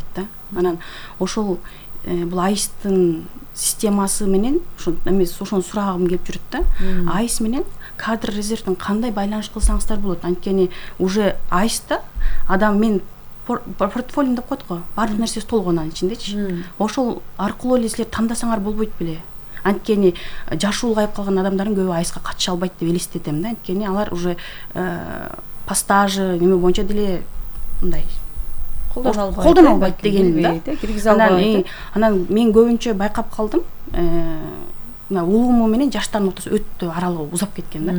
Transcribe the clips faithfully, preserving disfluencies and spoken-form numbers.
албайт да. Анан ошол бул аисттин системасы менен ошо эмес ошону сурагым келип жүрөт да. аис менен кадр резервдин кандай байланыш кылсаңыздар болот? Анткени уже аиста адам мен портфолио деп коет го, баардык нерсеси толгон анын ичиндечи. Ошол аркылуу эле силер тандасаңар болбойт беле? Анткени жашы улгайып калган адамдардын көбү аиска катыша албайт деп элестетем да. Анткени алар уже по стажы неме боюнча деле мындай колдоно албайт деген да. Киргизе албайт. Анан мен көбүнчө байкап калдым, мына улууму менен жаштардын ортосу өтө аралыгы узап кеткен да.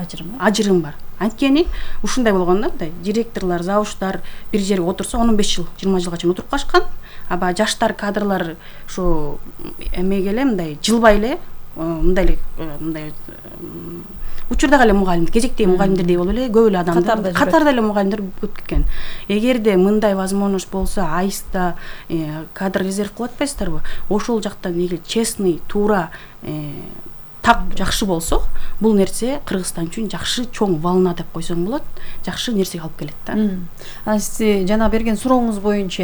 Ажырым бар. Ажырым бар. Анткени ушундай болгон да, мындай директорлор, завуштар бир жерге отурса он беш жыл, жыйырма жылга чейин отуруп калышкан. А баягы жаштар кадрлар ушу эмеге эле мындай жылбай эле мындай эле мындай учурдагы эле мугалим, кезектеги мугалимдердей болуп эле көп эле адамдар катарда эле мугалимдер көп кеткен. Эгерде мындай возможность болсо, аиста кадр резерв кылып атпайсыздарбы? Ошол жактан эгер честный, туура, так жакшы болсо, бул нерсе Кыргызстан үчүн жакшы чоң волна деп койсоң болот, жакшы нерсеге алып келет да. Анан сиз жана берген сурооңуз боюнча,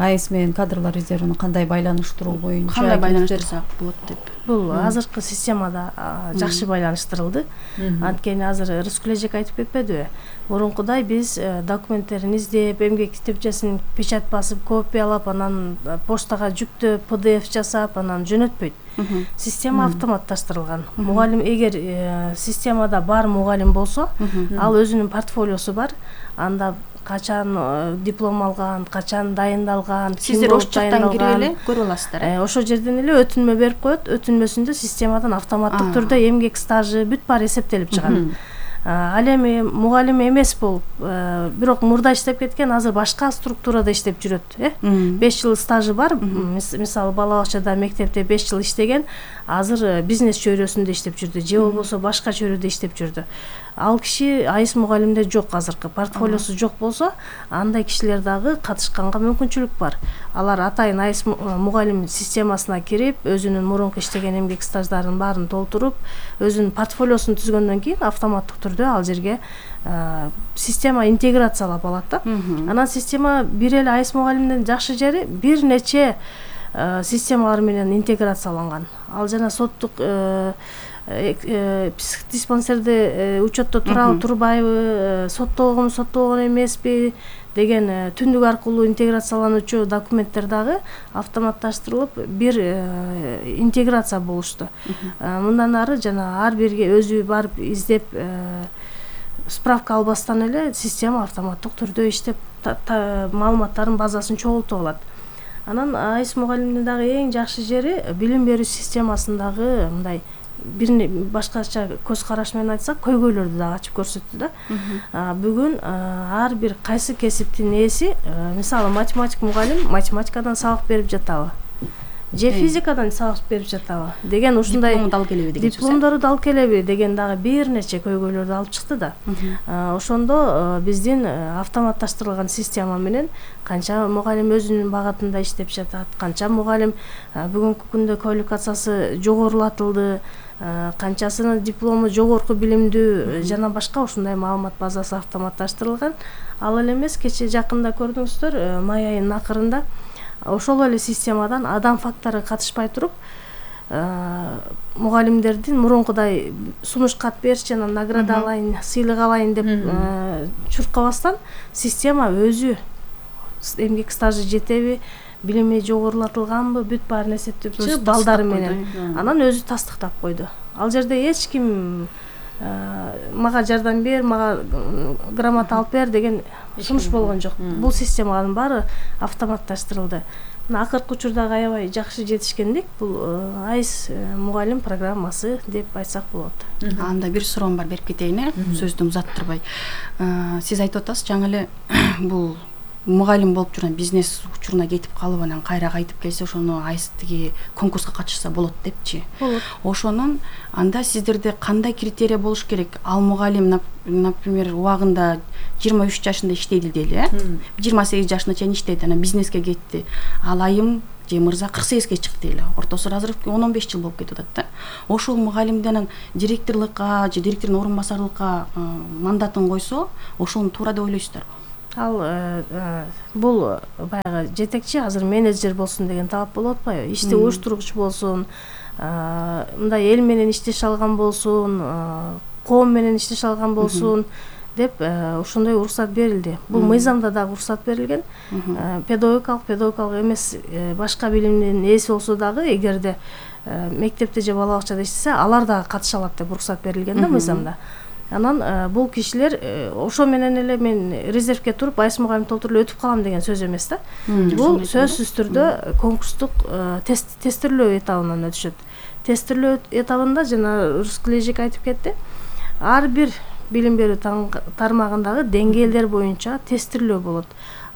аис менен кадрлар резервин кандай байланыштыруу боюнча кандай байланыштырсак болот деп. Бул азыркы системада жакшы байланыштырылды. Анткени азыр Рыскүл эжек айтып кетпедиби? Мурункудай биз документтерин издеп, эмгек китепчесин печать басып, копиялап, анан почтага жүктөп, пи ди эф жасап, анан жөнөтпөйт. Система автоматташтырылган. Мугалим эгер системада бар мугалим болсо, ал өзүнүн портфолиосу бар. Анда качан диплом алган, качан дайындалган, сиздер ошол жактан кирип эле көрүп аласыздар. Ошол жерден эле өтүнмө берип коет, өтүнмөсүндө системадан автоматтык түрдө эмгек стажы бүт баары эсептелип чыгат. Ал эми мугалим эмес болуп, бирок мурда иштеп кеткен, азыр башка структурада иштеп жүрөт, э? беш жыл стажы бар. Мисалы бала бакчада, мектепте беш жыл иштеген, азыр бизнес чөйрөсүндө иштеп жүрдү, же болбосо башка чөйрөдө иштеп жүрдү. Ал киши аис мугалимде жок, азыркы портфолиосу жок болсо, андай кишилер дагы катышканга мүмкүнчүлүк бар. Алар атайын аис мугалим системасына кирип, өзүнүн мурунку иштеген эмгек стаждарын баарын толтуруп, өзүнүн портфолиосун түзгөндөн кийин автоматтык түрдө ал жерге система интеграциялап алат да. Анан система бир эле аис мугалимдин жакшы жери бир нече системалар менен интеграцияланган. Ал жана соттук психдиспансерде учетто турабы, турбайбы, соттолгонбу, соттолгон эмеспи деген түндүк аркылуу интеграциялануучу документтер дагы автоматташтырылып бир интеграция болушту. Мындан ары жана ар бирге өзү барып издеп справка албастан эле система автоматтык түрдө иштеп маалыматтардын базасын чогултуп алат. Анан аис мугалимдин дагы эң жакшы жери билим берүү системасындагы мындай бир башкача көз караш менен айтсак, көйгөйлөрдү дагы ачып көрсөттү да. Бүгүн ар бир кайсы кесиптин ээси, мисалы математик мугалим математикадан сабак берип жатабы, же физикадан сабак берип жатабы деген ушундай диплому дал келеби деген дипломдору дал келеби деген дагы бир нече көйгөйлөрдү алып чыкты да. Ошондо биздин автоматташтырылган система менен канча мугалим өзүнүн багытында иштеп жатат, канча мугалим бүгүнкү күндө квалификациясы жогорулатылды, канчасынын диплому жогорку билимдүү жана башка ушундай маалымат базасы автоматташтырылган. Ал эле эмес, кечээ жакында көрдүңүздөр, май айынын акырында ошол эле системадан адам фактору катышпай туруп, мугалимдердин мурункудай сунуш кат бериши жана награда алайын, сыйлык алайын деп чуркабастан, система өзү эмгек стажы жетеби, билими жогорулатылганбы, бүт баарын эсептеп чыгып балдары менен анан өзү тастыктап койду. Ал жерде эч ким мага жардам бер, мага грамота алып бер деген сунуш болгон жок. Бул системанын баары автоматташтырылды. Мына акыркы учурдагы аябай жакшы жетишкендик бул аис мугалим программасы деп айтсак болот. Анда бир суроом бар, берип кетейин, э, сөздү узаттырбай. Сиз айтып атасыз, жаңы эле бул мугалим болуп жүргөн бизнес учуруна кетип калып, анан кайра кайтып келсе, ошону аистиги конкурска катышса болот депчи. Болот. Ошонун анда сиздерде кандай критерий болуш керек? Ал мугалим, например, убагында жыйырма үч жашында иштейди дейли, э? жыйырма сегиз жашына чейин иштейди, анан бизнеске кетти. Ал айым же мырза кырк сегизге чыкты дейли. Ортосу азыр он беш жыл болуп кетип атат да. Ошол мугалимден директорлукка же директордун орун басарлыкка мандатын койсо, ошону туура деп ойлойсуздарбы? ал бул баягы жетекчи азыр менеджер болсун деген талап болуп атпайбы, ишти уюштургуч болсун, мындай эл менен иштеше алган болсун, коом менен иштеше алган болсун деп ошондой уруксат берилди. Бул мыйзамда дагы уруксат берилген. Педагогикалык, педагогикалык эмес башка билимдин ээси болсо дагы эгерде мектепте же бала бакчада иштесе, алар дагы катыша алат деп уруксат берилген да мыйзамда. Анан бул кишилер ошо менен эле мен резервке туруп Айс мугалим толтуруп өтүп калам деген сөз эмес да. Бул сөзсүз түрдө конкурстук тест тестирлөө этабынан өтүшөт. Тестирлөө этабында жана Рускележик айтып кетти. Ар бир билим берүү тармагындагы деңгээлдер боюнча тестирлөө болот.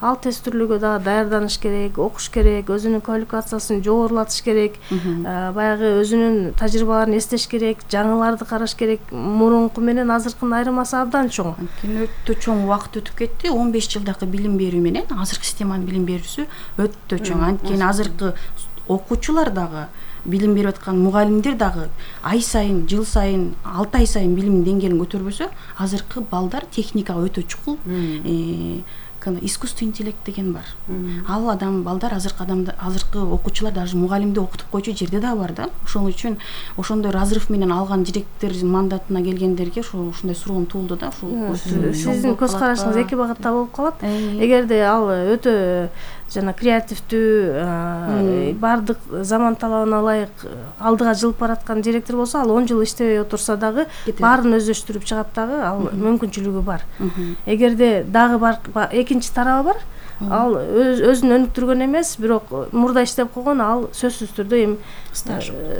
Ал тестирлөөгө дагы даярданыш керек, окуш керек, өзүнүн квалификациясын жогорулатыш керек, баягы өзүнүн тажрыйбаларын эстеш керек, жаңыларды караш керек. Мурунку менен азыркынын айырмасы абдан чоң. Анткени өтө чоң убакыт өтүп кетти. он беш жылдагы билим берүү менен азыркы системанын билим берүүсү өтө чоң. Анткени азыркы окуучулар дагы, билим берип аткан мугалимдер дагы ай сайын, жыл сайын, алты ай сайын билим деңгээлин көтөрбөсө, азыркы балдар техникага өтө чукул, искусственный интеллект деген бар. Ал адам балдар азыркы адамдар, азыркы окуучулар даже мугалимди окутуп койчу жерде да бар да. Ошол үчүн ошондой разрыв менен алган директор мандатына келгендерге ошондой суроом туулду да. Ушул сиздин көз карашыңыз эки багытта болуп калат. Эгерде ал өтө жана креативдүү, бардык заман талабына ылайык алдыга жылып бараткан директор болсо, ал он жыл иштебей отурса дагы баарын өздөштүрүп чыгат дагы, ал мүмкүнчүлүгү бар. Эгерде дагы бар экинчи тарабы бар, ал өзүн өнүктүргөн эмес, бирок мурда иштеп койгон, ал сөзсүз түрдө эми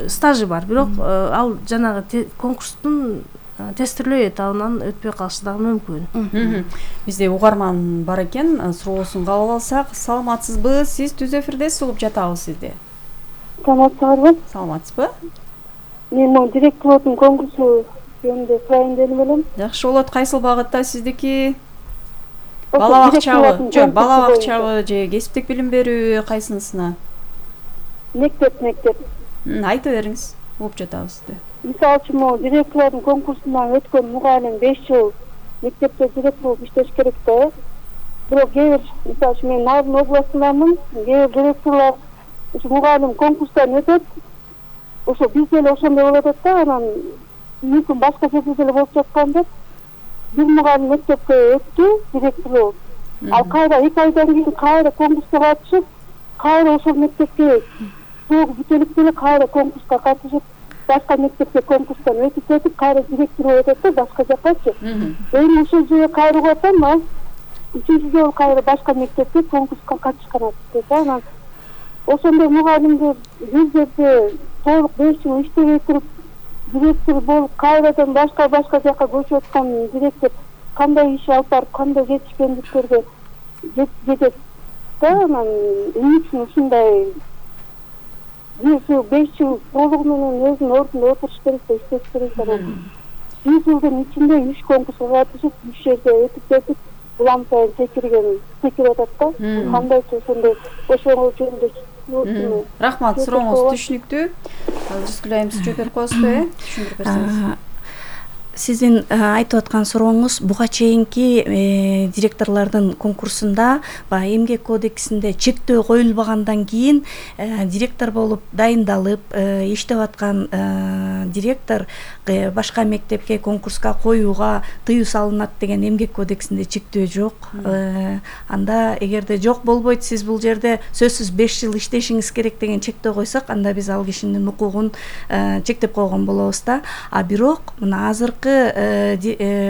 стажы бар. Бирок ал жанагы конкурстун тестирлөө этабынан өтпөй калышы дагы мүмкүн. Бизде угарман бар экен, суроосун кабыл алсак. Саламатсызбы? Сиз түз эфирдесиз, угуп жатабыз сизди. Саламатсызбы? Саламатсызбы? Мен могу директордун конкурсу жөнүндө сурайын дедим элем. Жакшы болот. Кайсыл багытта сиздики? Бала бакчабы, жок, бала бакчабы же кесиптик билим берүү, кайсынысына? Мектеп, мектеп. Айта бериңиз, угуп жатабыз сизди. Мисалы үчүн, могу директордун конкурсунан өткөн мугалим беш жыл мектепте директор болуп иштеш керек да. Бирок кээ бир, мисалы үчүн мен Нарын областындамын, кээ бир директорлор ушу мугалим конкурстан өтөт, ошо бизде эле ошондой болуп атат да, анан мүмкүн башка жерде деле болуп жаткан деп. Бир мугалим мектепке өттү, директор болуп. Ал кайра эки айдан кийин кайра конкурска катышып, кайра ошол мектепке срок бүтүлүп деле кайра конкурска катышып, башка мектепке конкурстан өтүп кетип, кайра директор болуп атат да, башка жаккачы. Эми ушул жерге кайрылып атам, ал үчүнчү жолу кайра башка мектепке конкурска катышкан атты да. Анан ошондой мугалимдер бир жерде толук беш жыл иштебей туруп, директор болуп, кайрадан башка башка жакка көчүп аткан директор кандай иш алып барып, кандай жетишкендиктерге жетет да. Анан эмне үчүн ушундай беш жыл толугу менен өзүнүн ордунда отуруш керек да, иштеш керек да. Бир жылдын ичинде үч конкурска катышып, үч жерде өтүп кетип, улам сайын секирген, секирип атат да. Кандайчы ошондой ошол жөнүндө. Рахмат, сурооңуз түшүнүктүү. Рыскүл айым, сиз жооп берип коесузбу, э? Түшүндүрүп берсеңиз. Сиздин айтып аткан сурооңуз буга чейинки директорлордун конкурсунда баягы эмгек кодексинде чектөө коюлбагандан кийин директор болуп дайындалып иштеп аткан директор башка мектепке конкурска коюуга тыюу салынат деген эмгек кодексинде чектөө жок. Анда эгерде жок болбойт, сиз бул жерде сөзсүз беш жыл иштешиңиз керек деген чектөө койсок, анда биз ал кишинин укугун чектеп койгон болобуз да. А бирок мына азыркы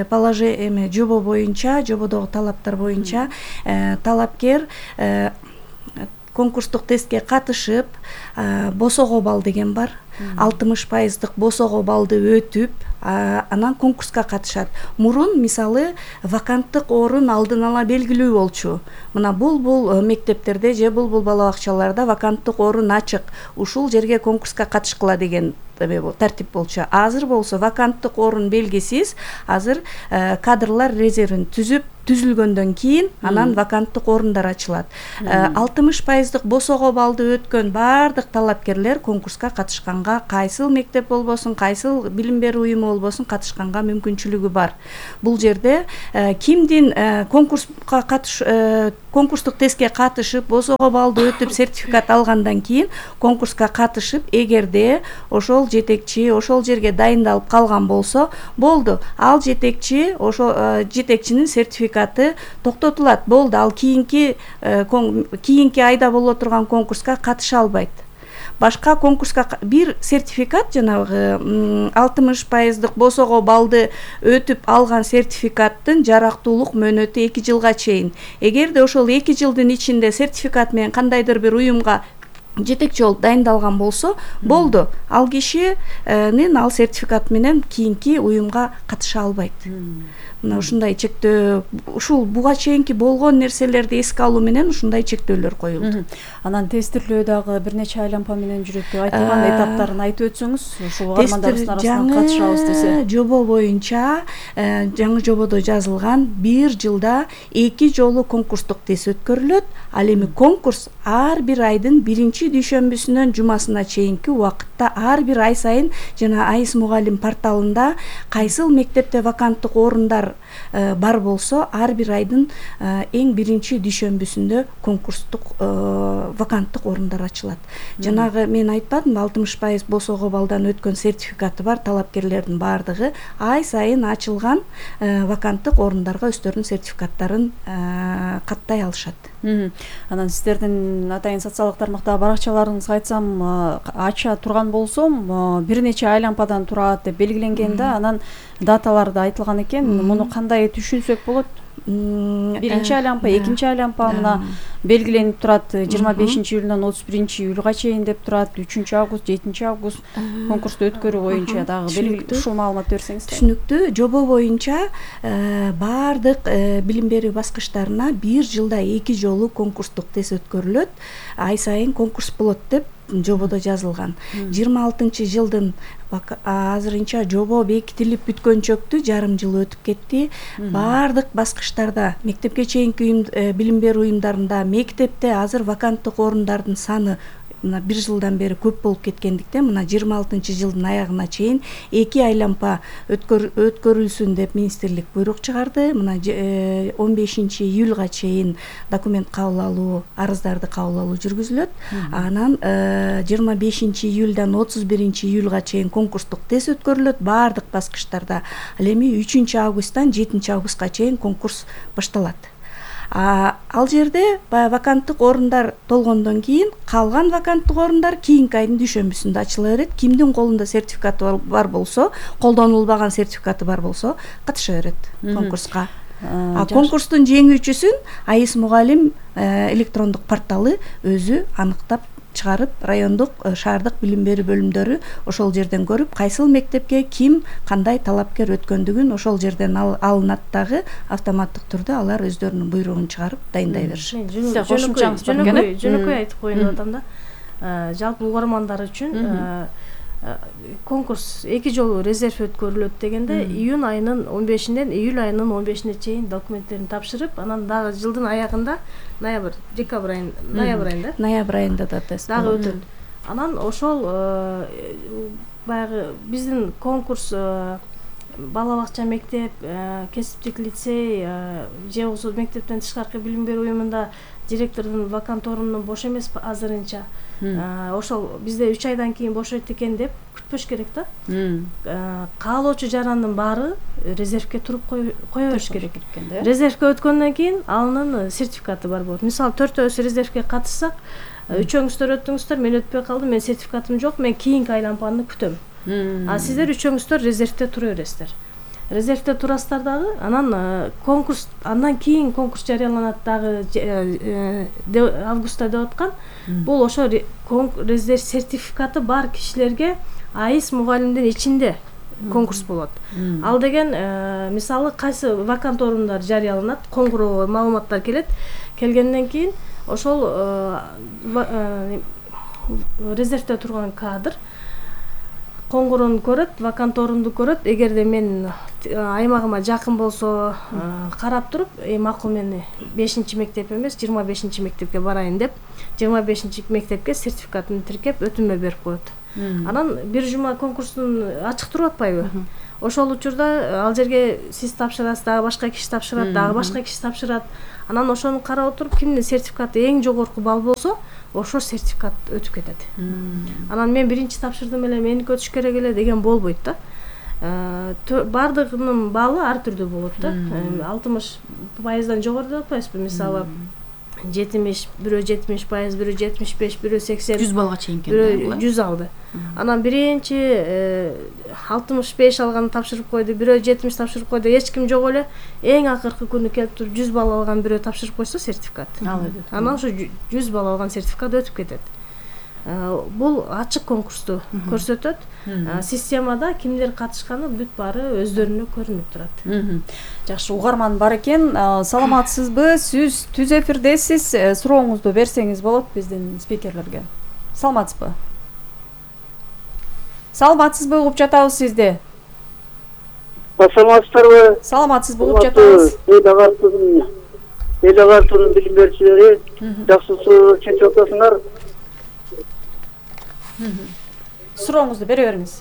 положение жобо боюнча, жободогу талаптар боюнча талапкер конкурстук тестке катышып, босого балл деген бар. алтымыш пайыздык босого баллды өтүп, анан конкурска катышат. Мурун мисалы ваканттык орун алдын ала белгилүү болчу. Мына бул бул мектептерде же бул бул бала бакчаларда ваканттык орун ачык. Ушул жерге конкурска катышкыла деген тартип болчу. Азыр болсо ваканттык орун белгисиз. Азыр кадрлар резервин түзүп түзүлгөндөн кийин анан ваканттык орундар ачылат. алтымыш пайыздык босого баллды өткөн баардык талапкерлер конкурска катышканга катышканга, кайсыл мектеп болбосун, кайсыл билим берүү уюму болбосун катышканга мүмкүнчүлүгү бар. Бул жерде кимдин конкурска катыш конкурстук тестке катышып, босого баллды өтүп, сертификат алгандан кийин конкурска катышып, эгерде ошол жетекчи ошол жерге дайындалып калган болсо, болду. Ал жетекчи ошол жетекчинин сертификаты токтотулат. Болду. Ал кийинки кийинки айда боло турган конкурска катыша албайт. Башка конкурска бир сертификат, жанагы алтымыш пайыздык босого баллды өтүп алган сертификаттын жарактуулук мөөнөтү эки жылга чейин. Эгерде ошол эки жылдын ичинде сертификат менен кандайдыр бир уюмга жетекчи болуп дайындалган болсо, болду. Ал кишинин ал сертификат менен кийинки уюмга катыша албайт. Мына ушундай чектөө, ушул буга чейинки болгон нерселерди эске алуу менен ушундай чектөөлөр коюлду. Анан тестирлөө дагы бир нече айлампа менен жүрөт. Айтылган этаптарын айтып өтсөңүз, ушул угармандарыбыздын арасынан катышабыз десе. Жобо боюнча, жаңы жободо жазылган бир жылда эки жолу конкурстук тест өткөрүлөт. Ал эми конкурс ар бир айдын биринчи дүйшөмбүсүнөн жумасына чейинки убакытта ар бир ай сайын жана АИС мугалим порталында кайсыл мектепте ваканттык орундар бар болсо, ар бир айдын эң биринчи дүйшөмбүсүндө конкурстук ваканттык орундар ачылат. Жанагы мен айтпадымбы, алтымыш пайыз босого баллдан өткөн сертификаты бар талапкерлердин баардыгы ай сайын ачылган ваканттык орундарга өздөрүнүн сертификаттарын каттай алышат. Анан сиздердин атайын социалдык тармактагы баракчаларыңызга айтсам, ача турган болсом, бир нече айлампадан турат деп белгиленген да, анан даталарды айтылган экен. Муну кандай түшүнсөк болот? Биринчи айлампа, экинчи айлампа мына белгиленип турат, жыйырма бешинчи июлдан отуз биринчи июлга чейин деп турат, үчүнчү август, жетинчи август конкурсту өткөрүү боюнча дагы белгилүү ушул маалымат берсеңиз. Түшүнүктүү. Жобо боюнча баардык билим берүү баскычтарына бир жылда эки жолу конкурстук тест өткөрүлөт. Ай сайын конкурс болот деп жободо жазылган. жыйырма алтынчы жылдын азырынча жобо бекитилип бүткөнчөктү жарым жыл өтүп кетти. Баардык баскычтарда, мектепке чейинки билим берүү уюмдарында, мектепте азыр ваканттык орундардын саны мына бир жылдан бери көп болуп кеткендиктен, мына жыйырма алтынчы жылдын аягына чейин эки айлампа өткөрүлсүн деп министрлик буйрук чыгарды. Мына он бешинчи июлга чейин документ кабыл алуу, арыздарды кабыл алуу жүргүзүлөт. Анан жыйырма бешинчи июлдан отуз биринчи июлга чейин конкурстук тест өткөрүлөт баардык баскычтарда. Ал эми үчүнчү августтан жетинчи августка чейин конкурс башталат. Ал жерде ваканттык орундар толгондон кийин калган ваканттык орундар кийинки айдын дүйшөмбүсүндө ачыла берет. Кимдин колунда сертификаты бар болсо, колдонулбаган сертификаты бар болсо, катыша берет конкурска. А конкурстун жеңүүчүсүн АИС мугалим электрондук порталы өзү аныктап чыгарып, райондук, шаардык билим берүү бөлүмдөрү ошол жерден көрүп, кайсыл мектепке ким кандай талапкер өткөндүгүн ошол жерден алынат дагы, автоматтык түрдө алар өздөрүнүн буйругун чыгарып дайындай беришет. Жөнөкөй айтып коеюн деп атам да. Жалпы угармандар үчүн конкурс эки жолу резерв өткөрүлөт дегенде, июнь айынын он бешинен июль айынын он бешине чейин документтерин тапшырып, анан дагы жылдын аягында ноябрь, декабрь айында, ноябрь айында, ноябрь айында да тест дагы өтөт. Анан ошол баягы биздин конкурс бала бакча мектеп, кесиптик лицей же болбосо мектептен тышкаркы билим берүү уюмунда директордун вакант орунунун бош эмес азырынча. Ошол бизде үч айдан кийин бошойт экен деп күтпөш керек да. Каалоочу жарандын баары резервке туруп кое бериш керек экен да. Резервке өткөндөн кийин анын сертификаты бар болот. Мисалы төртөөбүз резервке катышсак, үчөөңүздөр өттүңүздөр, мен өтпөй калдым, мен сертификатым жок, мен кийинки айлампаны күтөм. А сиздер үчөөңүздөр резервте тура бересиздер. Резервте турасыздар дагы, анан конкурс, андан кийин конкурс жарыяланат дагы августта деп аткан. Бул ошо резерв сертификаты бар кишилерге АИС мугалимдин ичинде конкурс болот. Ал деген мисалы кайсы вакант орундар жарыяланат, коңгуроо маалыматтар келет. Келгенден кийин ошол резервте турган кадр коңгуроону көрөт, вакант орунду көрөт. Эгерде мен аймагыма жакын болсо, карап туруп, макул мен бешинчи мектеп эмес, жыйырма бешинчи мектепке барайын деп, жыйырма бешинчи мектепке сертификатын тиркеп өтүнмө берип коет. Анан бир жума конкурстун ачык туруп атпайбы? Ошол учурда ал жерге сиз тапшырасыз, дагы башка киши тапшырат, дагы башка киши тапшырат. Анан ошону карап отуруп кимдин сертификаты эң жогорку балл болсо, ошо сертификат өтүп кетет. Анан мен биринчи тапшырдым эле, меники өтүш керек эле деген болбойт да. Бардыгынын баллы ар түрдүү болот да. алтымыш пайыздан жогору деп атпайсызбы? Мисалы жетимиш, бирөө жетимиш пайыз, бирөө жетимиш беш, бирөө сексен, жүз баллга чейин бирөө жүз алды. Анан биринчи алтымыш беш алган тапшырып койду, бирөө жетимиш тапшырып койду, эч ким жок эле. Эң акыркы күнү келип туруп жүз балл алган бирөө тапшырып койсо сертификат. Анан ошо жүз балл алган сертификат өтүп кетет. Бул ачык конкурсту көрсөтөт. Системада кимдер катышканы бүт баары өздөрүнө көрүнүп турат. Жакшы, угарман бар экен. Саламатсызбы? Сиз түз эфирдесиз. Сурооңузду берсеңиз болот биздин спикерлерге. Саламатсызбы? Саламатсызбы? Угуп жатабыз сизди. Саламатсыздарбы? Саламатсызбы? Угуп жатабыз. Эл агартуунун билим берүүчүлөрү, жакшы суроо чечип атасыңар. Сурооңузду бере бериңиз.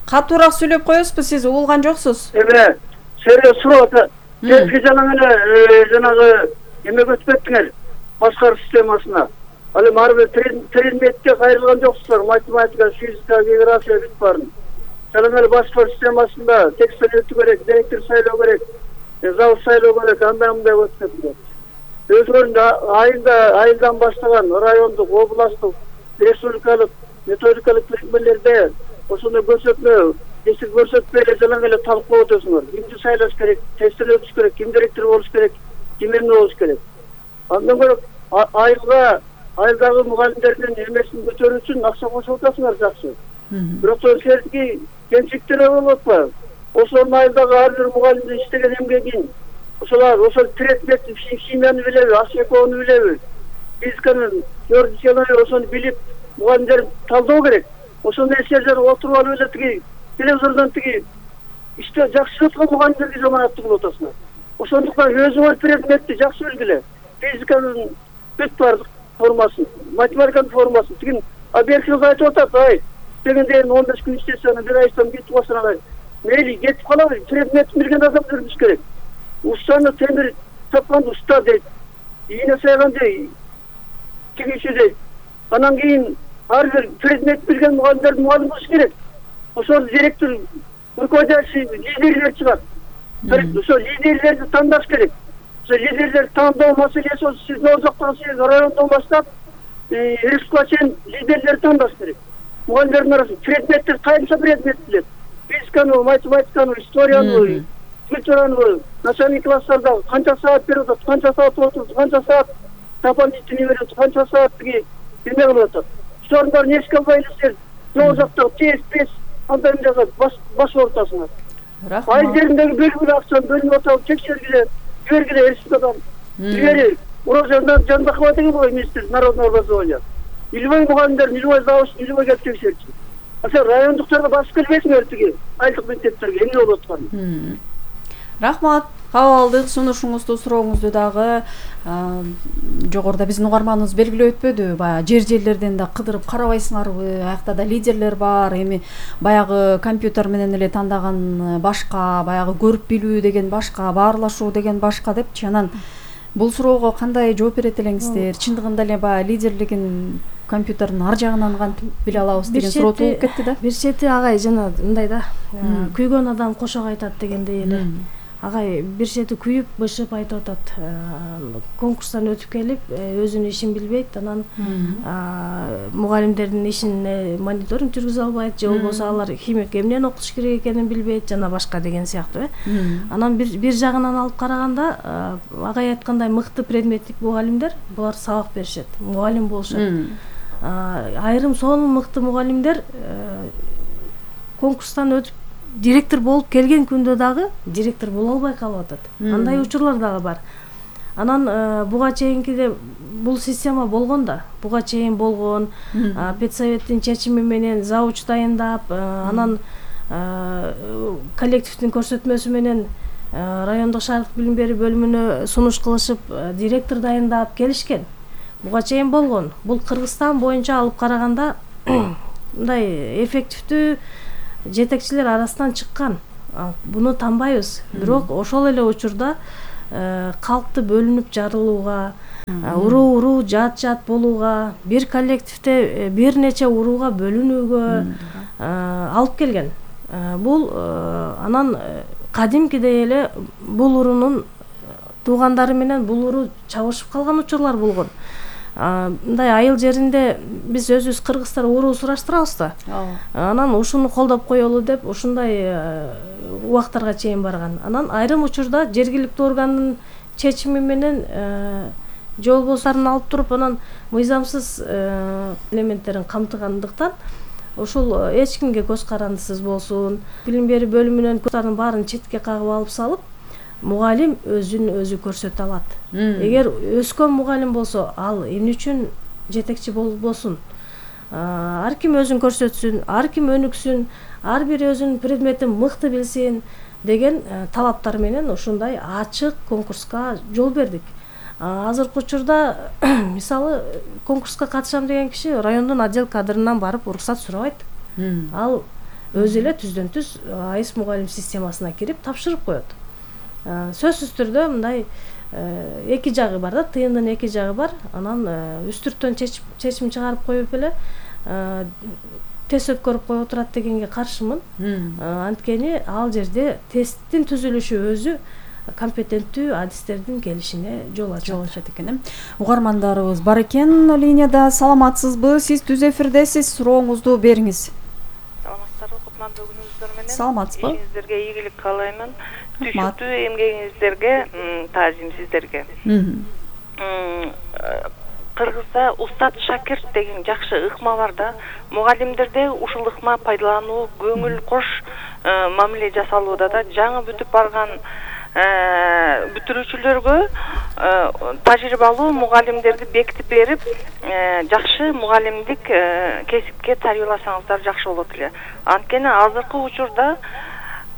Катуураак сүйлөп коесузбу, сиз угулган жоксуз? Эме, сиздерге суроо ата. Сиз жанагы эле жанагы эмеге өтүп кеттиңер, башкаруу системасына. Ал эми ар бир предметке кайрылган жоксуздар, математика, физика, география бүт баарын. Жанагы эле башкаруу системасында текстер өтүү керек, директор сайлоо керек, зал сайлоо керек, андай мындай өтүп кеттиңер. Өзгөрүндө айында айылдан баштаган райондук, областтык, республикалык, методикалык бирикмелерде ошондой көрсөтмө, эсик көрсөтпөй эле жанагы эле талкуулап өтөсүңөр. Кимди сайлаш керек, тесттер өтүш керек, ким директор болуш керек, ким эмне болуш керек. Андан көрө айылга, айылдагы мугалимдердин эмесин көтөрүү үчүн акча кошуп атасыңар жакшы. Бирок сиздердики кемчиликтер болуп атпайбы? Ошол айылдагы ар бир мугалимдин иштеген эмгегин ошолар ошол предмет химияны билеби, ашекоону билеби, физиканы, теоретиканы ошону билип, мугалимдер талдоо керек. Ошондой эсерлер отуруп алып эле тиги телевизордон тиги иште жакшы өткөн мугалимдерге жаманаттуу кылып атасыңар. Ошондуктан өзүңөр предметти жакшы билгиле. Физиканын бүт баардык формасын, математиканын формасын, тигин объективди айтып атат, ай, дегенде он беш күн иштесе, аны бир айдан кетип калса, мейли кетип калабы, предметти билген адам жүрүш керек. Устаны темир тапканды уста дейт, ийне сайган дейт, тигичи дейт. Анан кийин ар бир предмет билген мугалимдер мугалим болуш керек. Ошол директор, руководитель, лидерлер чыгат. Ошол лидерлерди тандаш керек. Ошол лидерлерди тандоо маселеси сиздин озоктон сиз райондон баштап республикага чейин лидерлерди тандаш керек. Мугалимдердин арасында предметтер кайсы предмет билет? Физиканы, математиканы, историяны, культураны, начальный класстарда канча саат берип атат, канча саат отурат, канча саат дополнительный берип атат, канча саат тиги эме кылып атат. Ошолордун баарын эске албай эле сиздер жол жактагы тест, бес андай мындайга баш ортасыңар. Айыл жериндеги бөлгүлүү акчаны бөлүп атып текшергиле, жибергиле республикадан. Илгери Урожайдан Жандакова деген бой министр народного образования. Илбой мугалимдер, илбой завуч, илбой келип текшерчү. Ошо райондуктарга басып келбейсиңер тиги айылдык мектептерге эмне болуп атканын. Рахмат. Кабыл алдык сунушуңузду, сурооңузду дагы жогоруда биздин угарманыбыз белгилеп өтпөдү. Баягы жер жерлерден да кыдырып карабайсыңарбы? Аякта да лидерлер бар. Эми баягы компьютер менен эле тандаган башка, баягы көрүп билүү деген башка, баарлашуу деген башка депчи. Анан бул суроого кандай жооп берет элеңиздер? Чындыгында эле баягы лидерлигин компьютердин ар жагынан кантип биле алабыз деген суроо тууп кетти да. Бир чети агай жана мындай да, күйгөн адам кошок айтат дегендей эле. Агай бир чети күйүп, бышып айтып атат. Конкурстан өтүп келип, өзүнүн ишин билбейт, анан мугалимдердин ишине мониторинг жүргүзө албайт, же болбосо алар химик эмнени окутуш керек экенин билбейт, жана башка деген сыяктуу. Анан бир бир жагынан алып караганда, агай айткандай мыкты предметтик мугалимдер булар сабак беришет, мугалим болушат. Айрым сонун мыкты мугалимдер конкурстан өтүп директор болуп келген күндө дагы директор боло албай калып атат. Андай учурлар дагы бар. Анан буга чейинкиде бул система болгон да, буга чейин болгон, педсоветтин чечими менен завуч дайындап, анан коллективдин көрсөтмөсү менен райондук шаардык билим берүү бөлүмүнө сунуш кылышып, директор дайындап келишкен. буга чейин болгон. Бул Кыргызстан боюнча алып караганда мындай эффективдүү жетекчилер арасынан чыккан. Буну танбайбыз. Бирок ошол эле учурда калкты бөлүнүп жарылууга, уруу уруу жат жат болууга, бир коллективде бир нече урууга бөлүнүүгө алып келген. Бул анан кадимкидей эле бул уруунун туугандары менен бул уруу чабышып калган учурлар болгон. Мындай айыл жеринде биз өзүбүз кыргыздар уруу сураштырабыз да. Анан ушуну колдоп коелу деп ушундай убактарга чейин барган. Анан айрым учурда жергиликтүү органдын чечими менен же болбосо алып туруп анан мыйзамсыз элементтерин камтыгандыктан ошол эч кимге көз карандысыз болсун, билим берүү бөлүмүнөн курстардын баарын четке кагып алып салып, мугалим өзүн өзү көрсөтө алат. Эгер өскөн мугалим болсо, ал эмне үчүн жетекчи болбосун? Ар ким өзүн көрсөтсүн, ар ким өнүксүн, ар бир өзүнүн предметин мыкты билсин деген талаптар менен ушундай ачык конкурска жол бердик. Азыркы учурда мисалы конкурска катышам деген киши райондун отдел кадрынан барып уруксат сурабайт. Ал өзү эле түздөн түз АИС мугалим системасына кирип тапшырып коет. Сөзсүз түрдө мындай эки жагы бар да, тыйындын эки жагы бар. Анан үстүрттөн чечим чыгарып коюп эле тест өткөрүп коюп турат дегенге каршымын. Анткени ал жерде тесттин түзүлүшү өзү компетенттүү адистердин келишине жол ачат экен. Угармандарыбыз бар экен линияда. Саламатсызбы? Сиз түз эфирдесиз. Сурооңузду бериңиз. Саламатсыздарбы? Кутмандуу күнүңүздөр менен. Саламатсызбы? Ишиңиздерге ийгилик каалаймын. Түшүктүү эмгегиңиздерге таазим сиздерге. Кыргызда устат шакирт деген жакшы ыкма бар да. Мугалимдерде ушул ыкма пайдалануу, көңүл кош мамиле жасалууда да. Жаңы бүтүп барган бүтүрүүчүлөргө тажрыйбалуу мугалимдерди бекитип берип, жакшы мугалимдик кесипке тарбияласаңыздар жакшы болот эле. Анткени азыркы учурда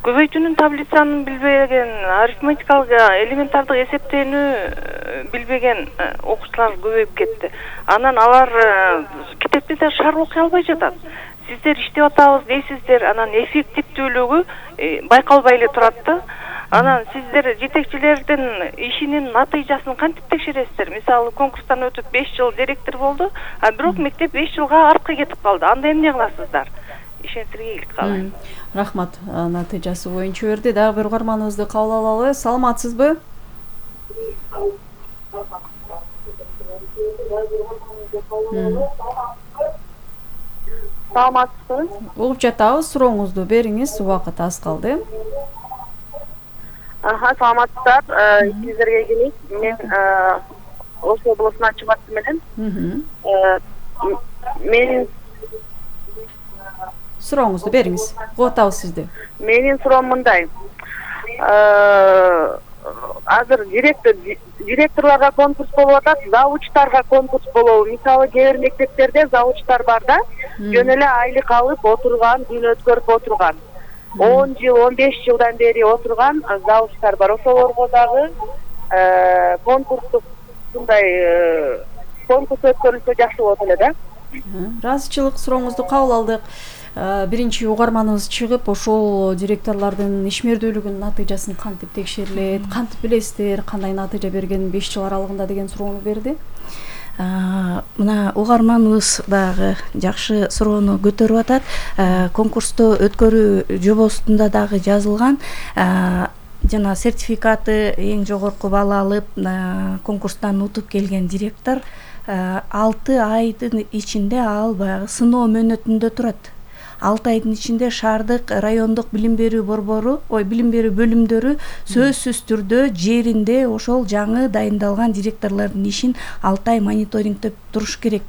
көбөйтүүнүн таблицанын билбеген, арифметикалык элементардык эсептөөнү билбеген окуучулар көбөйүп кетти. Анан алар китепти да шар окуй албай жатат. Сиздер иштеп атабыз дейсиздер, анан эффективдүүлүгү байкалбай эле турат да. Анан сиздер жетекчилердин ишинин натыйжасын кантип текшересиздер? Мисалы, конкурстан өтүп беш жыл директор болду, а бирок мектеп беш жылга артка кетип калды. Анда эмне кыласыздар? Ишенгиздерге ийгилик каалайм. Рахмат. Натыйжасы боюнча берди. Дагы бир угарманыбызды кабыл алалы. Саламатсызбы? Саламатсызбы? Угуп жатабыз. Сурооңузду бериңиз. Убакыт аз калды. Аха, саламатсыздар. Сиздерге ийгилик. Мен Ош облусунан чыгаттым менен. Мен Сурооңузду бериңиз. Угуп атабыз сизди. Менин суроом мындай. Азыр директор директорлорго конкурс болуп атат, завучтарга конкурс болобу? Мисалы, кээ бир мектептерде завучтар бар да, жөн эле айлык алып отурган, күн өткөрүп отурган. он жыл, он беш жылдан бери отурган завучтар бар. Ошолорго дагы конкурстук мындай конкурс өткөрүлсө жакшы болот эле да. Ыраазычылык сурооңузду кабыл алдык. Биринчи угарманыбыз чыгып, ошол директорлордун ишмердүүлүгүнүн натыйжасын кантип текшерилет, кантип билесиздер, кандай натыйжа берген беш жыл аралыгында деген суроону берди. Мына угарманыбыз дагы жакшы суроону көтөрүп атат. Конкурсту өткөрүү жобосунда дагы жазылган. Жана сертификаты эң жогорку балл алып, конкурстан утуп келген директор алты айдын ичинде ал баягы сыноо мөөнөтүндө турат. алты айдын ичинде шаардык, райондук билим берүү борбору, ой, билим берүү бөлүмдөрү сөзсүз түрдө жеринде ошол жаңы дайындалган директорлордун ишин алты ай мониторингдеп туруш керек.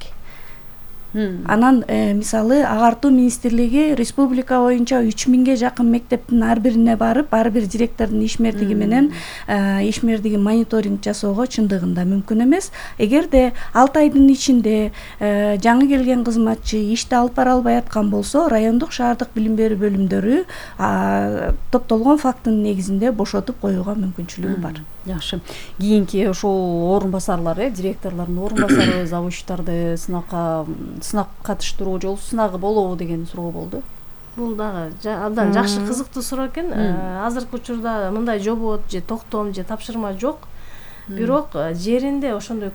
Анан мисалы агартуу министрлиги республика боюнча үч миңге жакын мектептин ар бирине барып, ар бир директордун ишмердиги менен ишмердиги мониторинг жасоого чындыгында мүмкүн эмес. Эгерде алты айдын ичинде жаңы келген кызматчы ишти алып бара албай аткан болсо, райондук шаардык билим берүү бөлүмдөрү топтолгон фактынын негизинде бошотуп коюуга мүмкүнчүлүгү бар. Жакшы. Кийинки ошол орун басарлар, э, директорлордун орун басары завучтарды сынакка сынак катыштыруу жолу сынагы болобу деген суроо болду. Бул дагы абдан жакшы кызыктуу суроо экен. Азыркы учурда мындай жобот же токтом же тапшырма жок. Бирок жеринде ошондой